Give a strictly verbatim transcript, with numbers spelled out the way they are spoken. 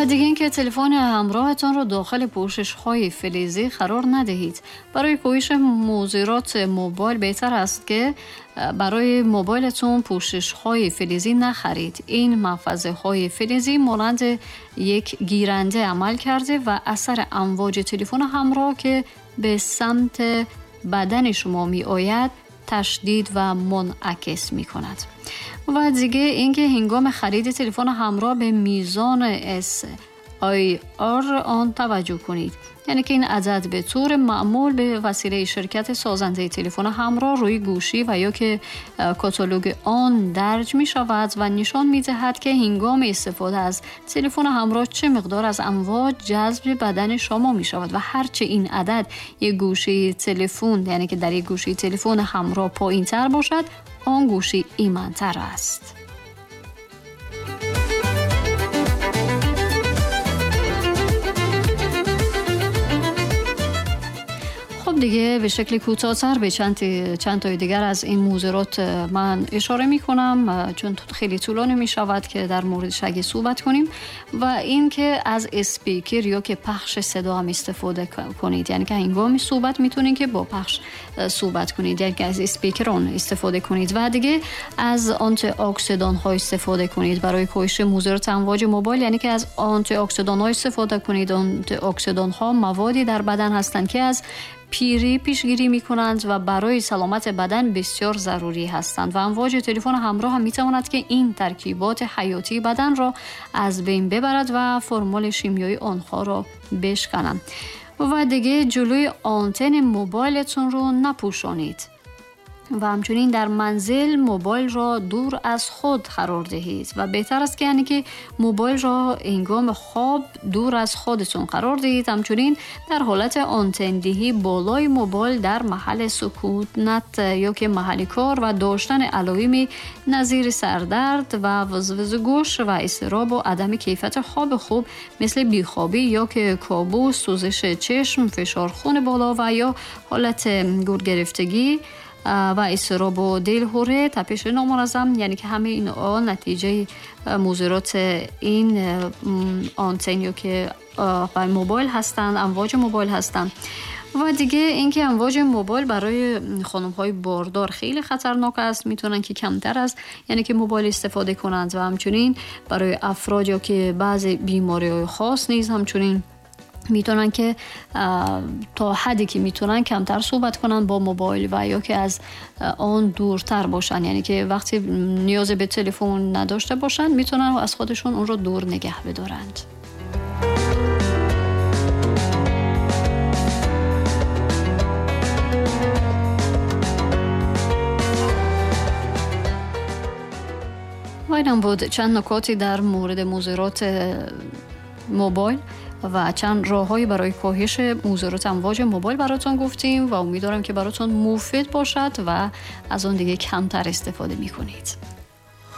و دیگه اینکه تلفن همراهتان رو داخل پوشش‌های فلزی قرار ندهید. برای کاهش مضرات موبایل بهتر است که برای موبایلتون پوشش‌های فلزی نخرید. این محفظه‌های فلزی مانند یک گیرنده عمل کرده و اثر امواج تلفن همراه که به سمت بدن شما می آید تشدید و منعکس می کند. و دیگه اینکه هنگام خرید تلفن همراه به میزان اس آی آر آن توجه کنید. یعنی که این عدد به طور معمول به وسیله شرکت سازنده تلفن همراه روی گوشی و یا که کاتالوگ آن درج می شود و نشان می دهد که هنگام استفاده از تلفن همراه چه مقدار از امواج جذب بدن شما می شود و هرچه این عدد یک گوشی تلفن، یعنی که در یک گوشی تلفن همراه پایین تر باشد، آن گوشی ایمن‌تر است. خب دیگه به شکل کوتاه‌تر به چند چند تای دیگر از این موضوعات من اشاره می‌کنم، چون خیلی طولانی می‌شود که در موردش اگه صحبت کنیم. و این که از اسپیکر یا که پخش صدا هم استفاده کنید، یعنی که هنگامی صحبت می‌تونید که با پخش صحبت کنید، یعنی که از اسپیکر اون استفاده کنید. و دیگه از آنتی اکسیدان ها استفاده کنید برای کاهش مضرات امواج موبایل، یعنی که از آنتی اکسیدان ها استفاده کنید. آنتی اکسیدان ها موادی در بدن هستند که از پیری پیشگیری می‌کنند و برای سلامت بدن بسیار ضروری هستند و امواج تلفن همراه هم می‌تواند که این ترکیبات حیاتی بدن را از بین ببرد و فرمول شیمیایی آنها را بشکنند. و دیگه جلوی آنتن موبایلتون رو نپوشانید و همچنین در منزل موبایل را دور از خود قرار دهید و بهتر است که یعنی که موبایل را هنگام خواب دور از خودتون قرار دهید. همچنین در حالت آنتن دهی بالای موبایل در محل سکونت یا که محل کار و داشتن علائم نظیر سردرد و وزوز گوش و اضطراب و عدم کیفیت خواب خوب مثل بیخوابی یا که کابوس، سوزش چشم، فشار خون بالا و یا حالت گرگرفتگی و اضطراب و دلهره، تپش نامنظم، یعنی که همه اینها نتیجه مضرات این آنتن یا که موبایل هستند، امواج موبایل هستند. و دیگه اینکه امواج موبایل برای خانم‌های باردار خیلی خطرناک است، میتونن که کمتر از یعنی که موبایل استفاده کنند و همچنین برای افراد یا که بعضی بیماری‌های خاص نیز همچنین میتونن که تا حدی که میتونن کمتر صحبت کنن با موبایل و یا که از آن دورتر باشن، یعنی که وقتی نیاز به تلفن نداشته باشن میتونن از خودشون اون رو دور نگه بدارند. و اینم بود چند نکاتی در مورد مضرات موبایل و چند راههایی برای کاهش مضرات امواج موبایل براتون گفتیم و امیدوارم که براتون مفید باشد و از اون دیگه کمتر استفاده میکنید.